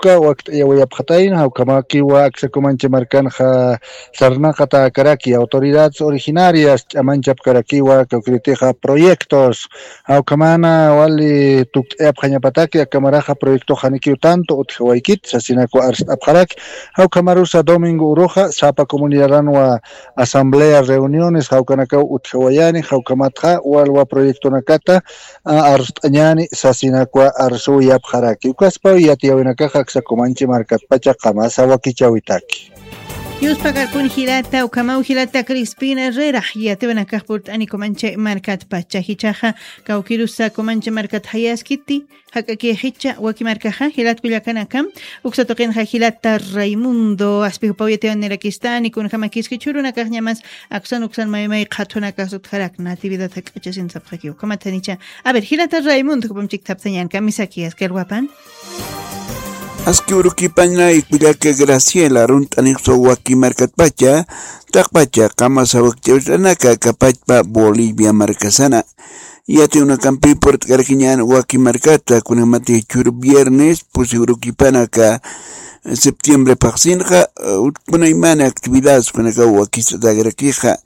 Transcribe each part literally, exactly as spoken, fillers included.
uka wakt'ayawayapxatayna, jawkhamakiwa aksa Kumanchi markanxa sarnaqatäkaraki autoridades originarias ch'amanchapkarakiwa kawkiritixa proyectos. Jawkhamana wali tukt'ayapxañapataki, akamaraxa proyectox janikiw tanto utjawaykit sasinakwa arst'apxaraki. Jawkhamarusa domingo uruxa sapa comunidadanwa asamblea, reuniones jawkanakaw utjawayani, jawkhamatxa walwa proyectonakata a, arst'añani sasinakwa arsuwayapxaraki. Ukaspaw yatiyäwinakaxa aksa Kumanchi markatpacha qamasa wakichäwitaki. Yuspakarpun jilata, ukhamaw jilata Crispina Herrera, yatiyäwinakax purt'ani Kumanchi markatpacha. Jichhaxa kawkirusa Kumanchi markat jayaskiti, jak'aki jichha waki markaxa, jilat kullakanaka, uksa tuqinxa jilata Raimundo, aspijupaw yatiyäwinirakistani, kunjamakiski chhurunakaxñamas aksan uksan maymay qhathunakax utjarak Natividad jak'achasin sapxakiw. Ukhamat janicha. A ver, jilata Raimundo, jupam chikthaptañan, kamisaki, askar wapan. Aski urukipañay kullaka Graciela, arunt'anixsa waki markatpacha, taqpacha qamasa wakichäwinaka kapachpa Bolivia markasana. Yatiyäwinakampi purt'karakiñan waki markata, kunjamatix chhuru viernes pusi urukipanaka septiembre phaxsinxa, eh, ut-, kunaymani actividades kunakaw wakist'atäkarakixa.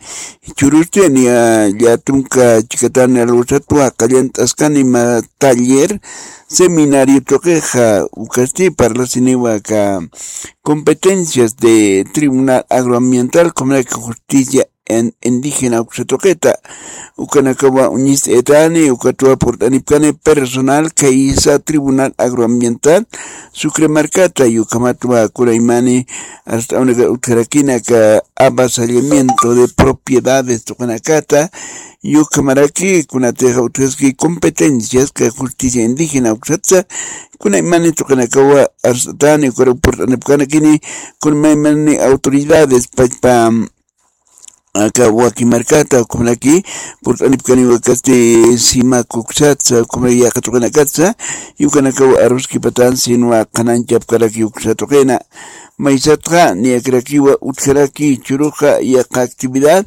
Chhurusti niya llatunka chikatani alwasatwa qallant'askani mä taller, seminario tuqixa, ukasti parlasiniwa aka competencias de Tribunal Agroambiental, comunidad justicia en indígena uksa tuqita. Ukanakawa uñist'ayatani, ukatwa purt'anipkani personal khaysa Tribunal Agroambiental Sucre markata, ukhamatwa kunaymani arst'awnaka utjarakini aka avasallamiento de propiedades tuqinakata, ukhamaraki kunatixa utjaski competencias ka justicia indígena uksatsa, kunaymani tuqinakawa arst'atani, ukar purt'anipkanakini, kunaymani autoridades pachpa aka waki markata, ukhamaraki purt'anipkaniwa kasti sima kuksatsa, ukhamaraki yaqa tuqinakatsa, ukanakawa aruskipatan sinwa qhananchapkaraki uksa tuqina. Maysatxa niyakirakiwa utjaraki chhuruxa yaqa actividad,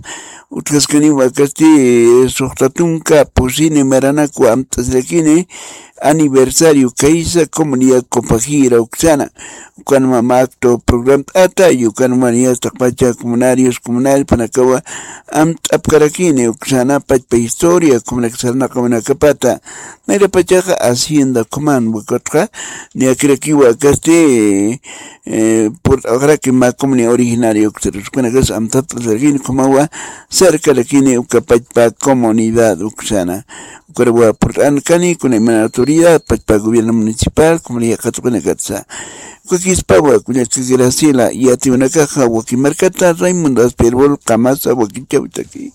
utjaskaniwa kasti suxta tunka pusini maranakwa amt'asirakini, aniversario khaysa comunidad Copajira uksana. Ukanwa mä acto programt'ata, ukanwa niyas taqpacha comunarios, comunarios panakawa amt'apkarakini uksana pachpa historia, comunac sarnaqawanakapata. Nayrapachaxa hacienda ukhaman wakatxa, niyakirakiwa kasti, eh, purt'awaxaraki mä comunidad originaria uksa, ukanakasa amt'apkarakini, ukhamawa sarkarakini uka pachpa comunidad uksana. Ukarawa purt'ankani, kunayman autoridad, pachpa gobierno municipal, comunidad qhatuqinakatsa. Ukakispawa, kullaka Graciela, yatiyäwinakaxa waki markata, Raimundo Aspirbol, qamasa wakichäwitaki.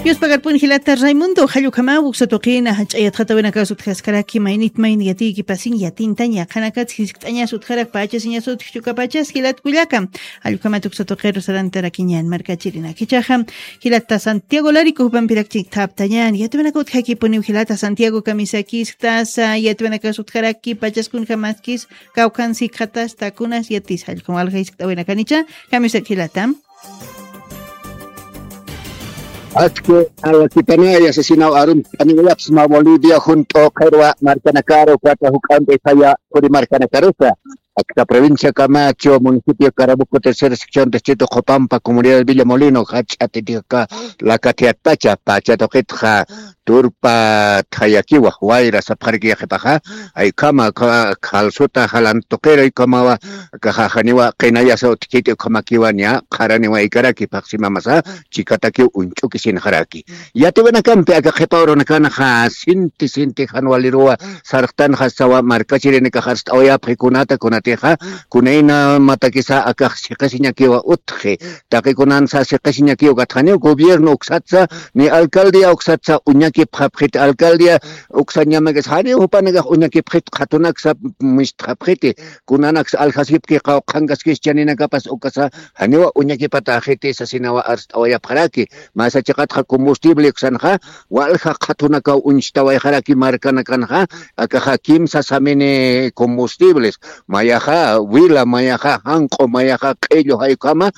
Yuspakarpun jilata Raimundo, jall ukhama, uksa tuqina, jach'a yatxatawinakas utjaskaraki, maynit mayni yatiykipasin, yatintaña, qhanakats jiskt'añas utjarak, pachasiñas utjchuka pachas, jilat kullaka. Jall ukhamat uksa tuqiru sarantarakiñan, markachirinak. Jichhaxa, jilata Santiago Larico jupampirak chikthaptañan. Yatiyäwinaka utjakipuniw jilata Santiago, kamisakisktas, yatiyäwinakas utjaraki, pachas kunjamaskis, kawkhan sikxatas, takunas, yatis jall ukham walja jiskt'awinakanicha, kamisak jilata. Aski alakipanaya sasinaw arunt'aniwayapxsma Bolivia junt'u qhirwa markanakaru, ukata juk'ampi saya puri markanakarusa. Akta provincia Camacho, municipio Carabuco, tercera sección, distrito Copampa, comunidad Villa Molino, jach'a titiqaka Lacatiatpacha, pacha tuqitxa turpa thayakiwa, wayra sapxaraki yaqhipaxa, ay ukhama, kha-, khalsuta jalan tuqiru, ay ukhamawa, kaxa janiwa qinayasa utjkiti, ukhamakiwa niya qharaniwaykaraki, phaxsimamasa chikatakiw uñch'ukisinxaraki. Yatiyäwinakampi aka qhipa urunakanxa sinti sinti jan waliruwa sarxtanxa sawa markachirinakax arst'awayapxi kunata kunatixa, kunayna matakisa akax siqisiñakiwa utji, taqi kunansa siqisiñakiw katxaniw gobierno uksatsa, ni alcaldía uksatsa uñakipxapxiti, alcaldía uksañamakis janiw jupanakax uñakipxit qhatunaksa mistxapxiti, kunanaksa aljasipki qawqhankaskis chaninakapas ukasa janiwa uñakipatäxiti sasinawa arst'awayapxaraki. Masa chiqatxa combustible uksanxa, walja qhatunakaw uñchtawayxaraki markanakanxa, akaxa kimsa samini combustibles, maya mayaxa wila, mayaxa janq'u, mayaxa q'illu, jaykhama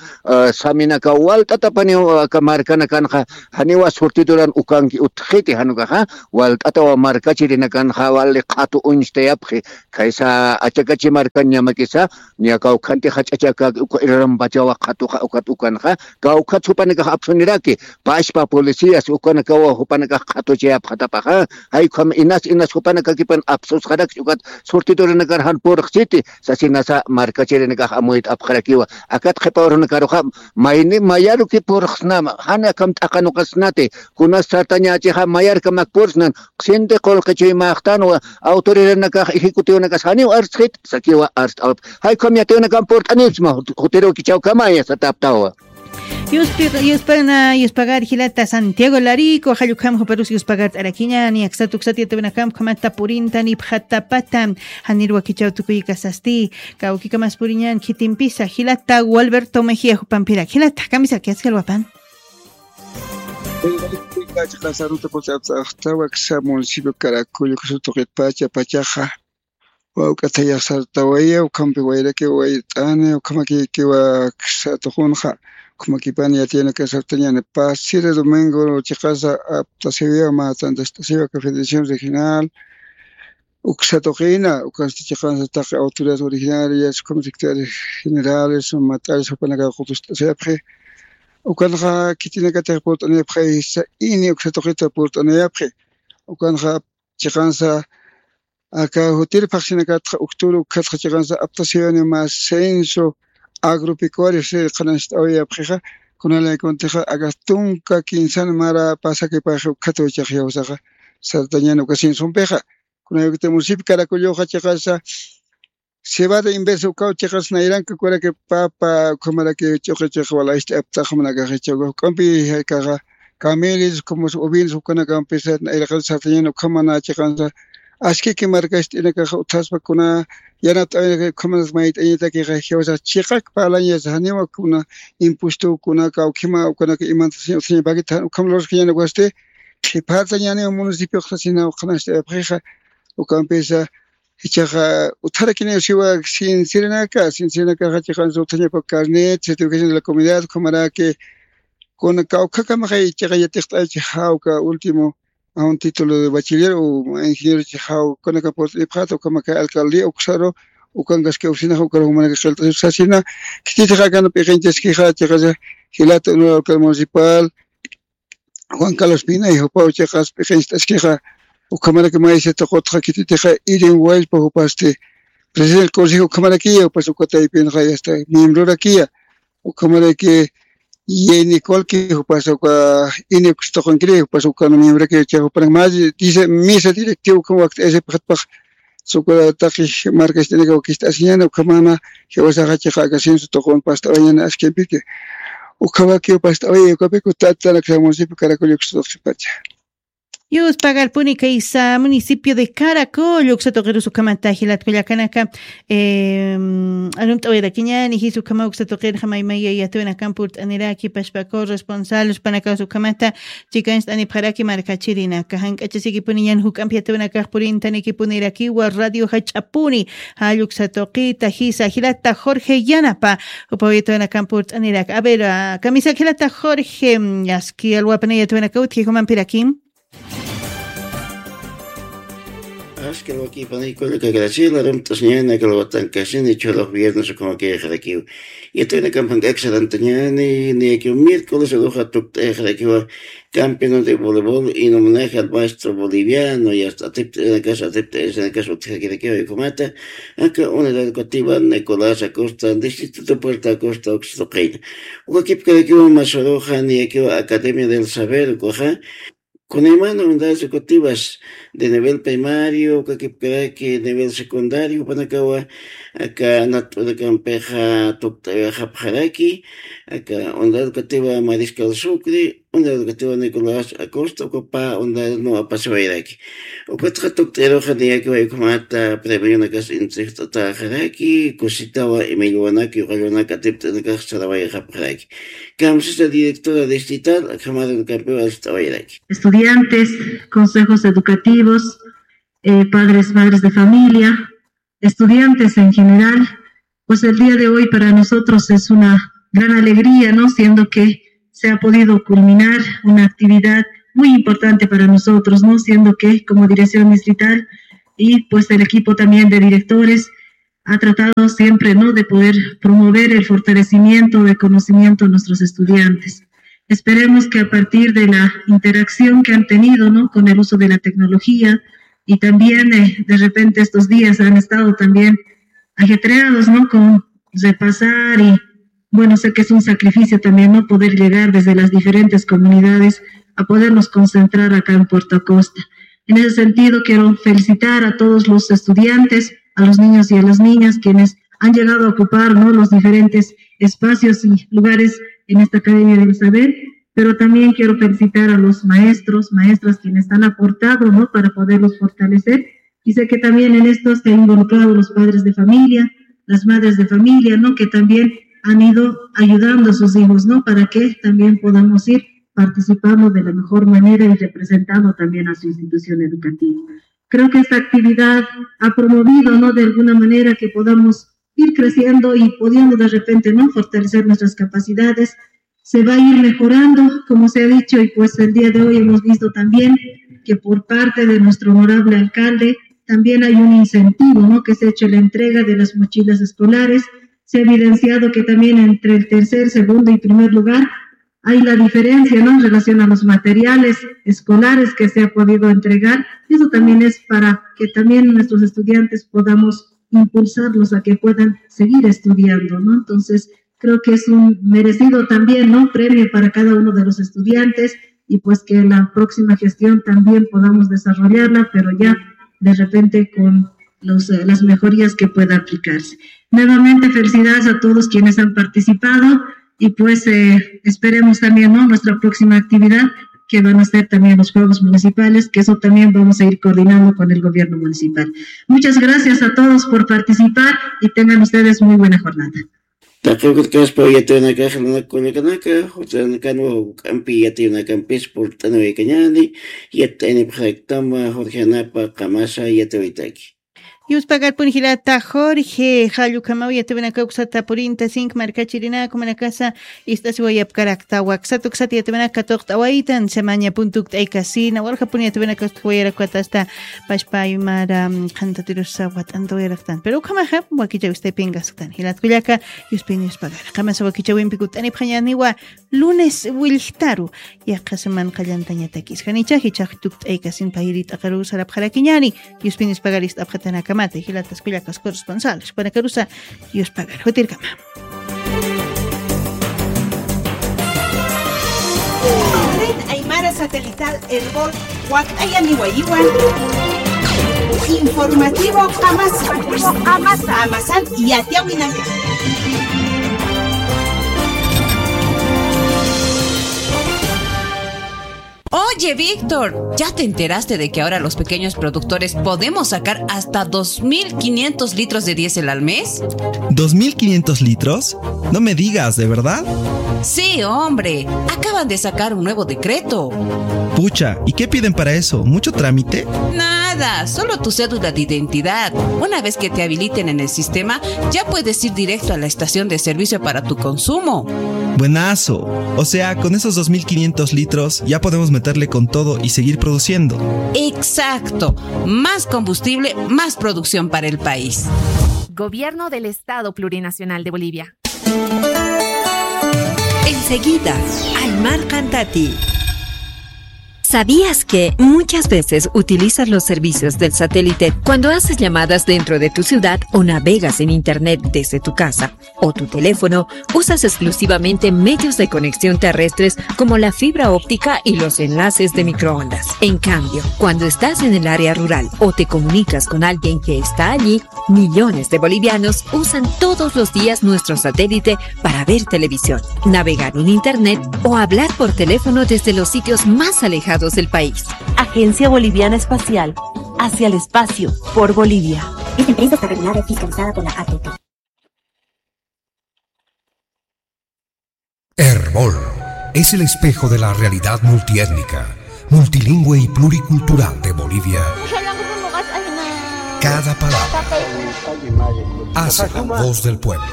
saminaka walt'atapaniw aka markanakanxa, janiwa surtiduran ukanki utjiti jan ukaxa, walt'atawa markachirinakanxa wali qhatu uñstayapxi. Khaysa achakachi markan ñamakisa, ña kawkhanti jach'achaka uka irarampachawa qhatuxa ukat ukanxa, kawkhat jupanakax apsuniraki, pachpa policías ukanakawa jupanakax qhatuchayapxatapaxa. Jaykham inas inas jupanakakipan apsusxarakchi ukat surtidurinakar jan purxchiti sasinasa markachirinakax amuyt'apxarakiwa. Akat qhipa urunakaruxa mayni mayaruki purxsnama, jan akham t'aqanuqasnati, kunas sartañächixa mayarkamak purxsnan, qsinti qullqi chuymäxtanwa, autoridarinakax ejecutivonakas janiw arstxit sakiwa arst'awip. Jaykham yatiyunakan purt'anipsma jutirukichawkamaya sataptawa. Yuspana yuspagar jilata Santiago Larico, jallukjam juparus yuspagar t'arakiña niyaksat uksat yatawinakamp khamata purinta nipxatapata. Janir wakichaw tukuykasasti kawkikamas puriñan khitimpisa jilata Gualberto Mejía jupampirak jilata kamisaki askalwapan. Chiqasa ruta pusi apsa aqtawa ksa municipio Caracollo ksa tuqitpacha pachaxa wawk'atayax sartawaya ukhampi wayraki wayt'ani ukhamakikiwa ksa tuqunxa. Ukhamakipani yatiyanaka sartañani pasira domingo chiqasa aptasiwiwa mä tantast'asiwa ka federación regional uksa tuqina ukasti chiqansa taqi autoridades originarias como secretarios generales mat'aris jupanaka qutust'asiyapxi. Ukanxa khitinakatix purt'aniyapxaysa ini uksa tuqita purt'aniyapxi. Ukanxa chiqansa aka jutir phaxsinakatxa ukturu ukhatxa chiqansa aptasiwani mä censo agropecuario si qhanañcht'awayapxixa. Kunalayakuntixa aka tunka kinsan mara pasakipaxi ukhatuw chaxyawsaxa sartañani uka censompixa. Kunayukita municipio Caracolloxa chiqasa cebada inversa ukaw chiqas nayranka ukaraki papa ukhamaraki ch'uqi chiqa walaxti aptaxmanakaxichawka juk'ampi jaykaxa camelis como ovinos ukanakampisa nayraqan sartañan ukhamana chiqansa askiki markast'inakaxa uthaspa kuna yanapt'awinaka ukhamanas mayt'añatakixa jiwasax chiqak parlañas janiwa kuna impuesto kuna kawkhima ukanaka imantasaña uthaña paquita jan ukham lurskañan ukasti qhipartañaniwa municipioxasina uqhanast'ayapxixa. Ukampisa ichaxa utharakiniw siwa sinsirinaka sinsirinakaxa chiqansa uthañapa carnet certificación de la comunidad ukhamaraki kuna kawkhakamaxay ichaxa yatiqt'aychi jawka último a un título de bachiller o ingeniero chi jaw ukanaka purt'ipxata ukamaka alcaldía uksaru ukankaski oficinaxa ukaru jumanaka qillt'asir sasina. Khititixa akana p'iqinchaskixa chiqasa jilata honorable alcalde municipal Juan Carlos Pinay jupaw chiqas p'iqincht'askixa. Ukhamaraki maysa tuqutxa khititixa irin wallpa jupasti presidente del consejo ukhamarakiya jupas uka taypinxa yasta miembrorakiya. Ukhamaraki yayni colki jupas uka ini uksa tuqunkiri jupas ukan miembrorakiya chiqa jupanak más de misa directivo ukham wakt'ayasipxatpax. Sukurataqi markast'inaka wakicht'asiñana ukhamana jiwasaxa chiqa aka censo tuqun past'awañana askimpiki. Ukhawakiw past'awaya ukapiku tatanaksa municipio Caracollo uksa tuqipacha. Yuspagarpuni kaysa municipio de Caracol uksa tuqirus ukhamata jilat kullakanaka. Arumt'awayrakiñani jis ukhama uksa tuqirxa maymaya yatawinakan purt'aniraki pashpa corresponsal uspanakaws ukhamata chikancht'anipxaraki markachirinaka jank'achasikipuniñan juk'ampi yatawinakax purintanikipunirakïwa radio jach'apuni. Jall uksa tuqita jisa jilata Jorge Yanapa. Jupaw yatawinakan purt'aniraka a ver, kamisak jilata Jorge, aski alwapana yatawinaka utji jumampirakim. Aski alwakïpanay kullaka Graciela, arumt'asiñani aka alwatankasini chhurux viernes ukhamakïxarakiw. Yatawinakamp jank'ak sarantañani niyakiw miércoles uruxa tukt'ayxarakiwa campeonato de voleibol en homenaje al maestro boliviano y hasta atipt'ayanakas atipt'ayasanakas utjakirakiwa ukhamata aka unidad educativa Nicolás Acosta distrito de Puerto Acosta uksa tuqina. Ukakipkarakiwa masuruxa niyakiwa academia del saber ukaxa kunaymana unidades educativas de nivel primario ukakipkaraki nivel secundario jupanakawa aka nat'unakampixa tukt'awixapxaraki aka unidad educativa Mariscal Sucre unidad educativa Nicolás Acosta uka pä unidades no apasiwayraki. Ukatxa tukt'iruxa niyakiwa ukhamata premionakas intrixt'ataxaraki kusitawa imillwanak yuqallwanak atipt'inakax sarawayxapxaraki. Kamsisa directora distrital akhamaranakampiw arst'awayraki. Estudiantes, consejos educativos, padres, madres de familia, estudiantes en general, pues el día de hoy para nosotros es una gran alegría, ¿no? Siendo que se ha podido culminar una actividad muy importante para nosotros, ¿no? Siendo que como dirección distrital y pues el equipo también de directores ha tratado siempre, ¿no? De poder promover el fortalecimiento de conocimiento de nuestros estudiantes. Esperemos que a partir de la interacción que han tenido, ¿no? Con el uso de la tecnología y también eh, de repente estos días han estado también ajetreados, ¿no? Con repasar y, bueno, sé que es un sacrificio también, ¿no? Poder llegar desde las diferentes comunidades a podernos concentrar acá en Puerto Acosta. En ese sentido, quiero felicitar a todos los estudiantes, a los niños y a las niñas quienes han llegado a ocupar, ¿no? Los diferentes espacios y lugares en esta Academia del Saber, pero también quiero felicitar a los maestros, maestras quienes han aportado, ¿no? Para poderlos fortalecer. Y sé que también en esto se han involucrado los padres de familia, las madres de familia, ¿no? Que también han ido ayudando a sus hijos, ¿no? Para que también podamos ir participando de la mejor manera y representando también a su institución educativa. Creo que esta actividad ha promovido, ¿no? De alguna manera que podamos ir creciendo y pudiendo de repente, ¿no? Fortalecer nuestras capacidades. Se va a ir mejorando, como se ha dicho, y pues el día de hoy hemos visto también que por parte de nuestro honorable alcalde también hay un incentivo, ¿no? Que se ha hecho la entrega de las mochilas escolares. Se ha evidenciado que también entre el tercer, segundo y primer lugar hay la diferencia, ¿no? En relación a los materiales escolares que se ha podido entregar. Y eso también es para que también nuestros estudiantes podamos impulsarlos a que puedan seguir estudiando, ¿no? Entonces, creo que es un merecido también, ¿no? Premio para cada uno de los estudiantes y pues que la próxima gestión también podamos desarrollarla, pero ya de repente con los, eh, las mejorías que pueda aplicarse. Nuevamente, felicidades a todos quienes han participado y pues eh, esperemos también, ¿no? Nuestra próxima actividad que van a ser también los Juegos Municipales, que eso también vamos a ir coordinando con el gobierno municipal. Muchas gracias a todos por participar y tengan ustedes muy buena jornada. Taqi ukit kaspa yatiyunakax, runaka kullakanaka, jurt'anakanwa juk'ampi yatiyunakampis purt'aniwaykañäni, yat'aynipxaktama Jorge Anapa qamasa yatiyawaytaki. Yuspagarpun jilata Jorge, jall ukhamaw yatiyunaka uksata purinta sink markachirinaka, jumanakasa ist'asiwayapkarakta, waksata uksata yatiyunaka katuqt'awaytan, samaña puntu ukt'aykasina, walja pun yatiyunaka ukt'awayarakwata asta pachpa aymara, mm, qhantatirusa wat'antawayaraktan. Pero ukhamaxa wakichaw ist'aypinkasktan. Jilat kullaka, yuspin yuspagara. Qamasa wakichawimpi kutt'anipxañäniwa lunes willjtaru, yaqha seman qallantañatakis. Janicha jichhax tukt'aykasin payri t'aqaru sarapxarakiñäni, yuspin yuspagara ist'apxatanakamata, jilatas kullakas corresponsales, jupanakarusa yuspagara. Jutirkama. Red Aymara Satelital Erbol, wakt'ayaniwayiwan. Informativo Qamasa. Qamasa. Qamasan yatiyawinaka. Oye, Víctor, ¿ya te enteraste de que ahora los pequeños productores podemos sacar hasta dos mil quinientos litros de diésel al mes? ¿Dos mil quinientos litros? No me digas, ¿de verdad? Sí, hombre. Acaban de sacar un nuevo decreto. Pucha, ¿y qué piden para eso? ¿Mucho trámite? Nada, solo tu cédula de identidad. Una vez que te habiliten en el sistema, ya puedes ir directo a la estación de servicio para tu consumo. Buenazo. O sea, con esos dos mil quinientos litros ya podemos meterle con todo y seguir produciendo. Exacto. Más combustible, más producción para el país. Gobierno del Estado Plurinacional de Bolivia. Enseguida, Aymar Cantati. ¿Sabías que muchas veces utilizas los servicios del satélite cuando haces llamadas dentro de tu ciudad o navegas en Internet desde tu casa o tu teléfono? Usas exclusivamente medios de conexión terrestres como la fibra óptica y los enlaces de microondas. En cambio, cuando estás en el área rural o te comunicas con alguien que está allí, millones de bolivianos usan todos los días nuestro satélite para ver televisión, navegar en Internet o hablar por teléfono desde los sitios más alejados del país. Agencia Boliviana Espacial, hacia el espacio, por Bolivia. Esta empresa está regulada y fiscalizada por la A T T. Erbol es el espejo de la realidad multiétnica, multilingüe y pluricultural de Bolivia. Cada palabra hace la voz del pueblo.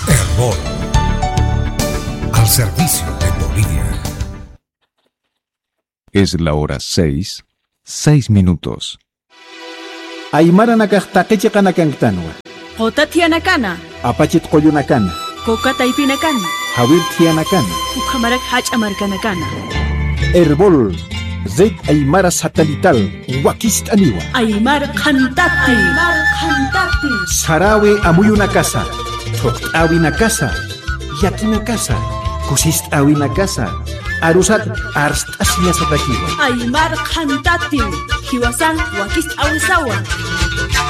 Erbol, al servicio de Bolivia. Es la hora seis, seis minutos. Aymaranakax taqi chiqanakankitanwa. Quta thiyanakana. Apachit qullunakana. Coca taypinakana. Jawir thiyanakana. Ukhamarak jach'a markanakana. Erbol, Red Aymara Satelital, wakist'aniwa. Aymar qhantati. Aymar qhantati. Sarawi amuyunakasa, thuqt'awinakasa, yakinakasa, kusist'awinakasa, arusat arst'asiñasatakiwa. Aymar qhantati, jiwasan wakist'awisawa.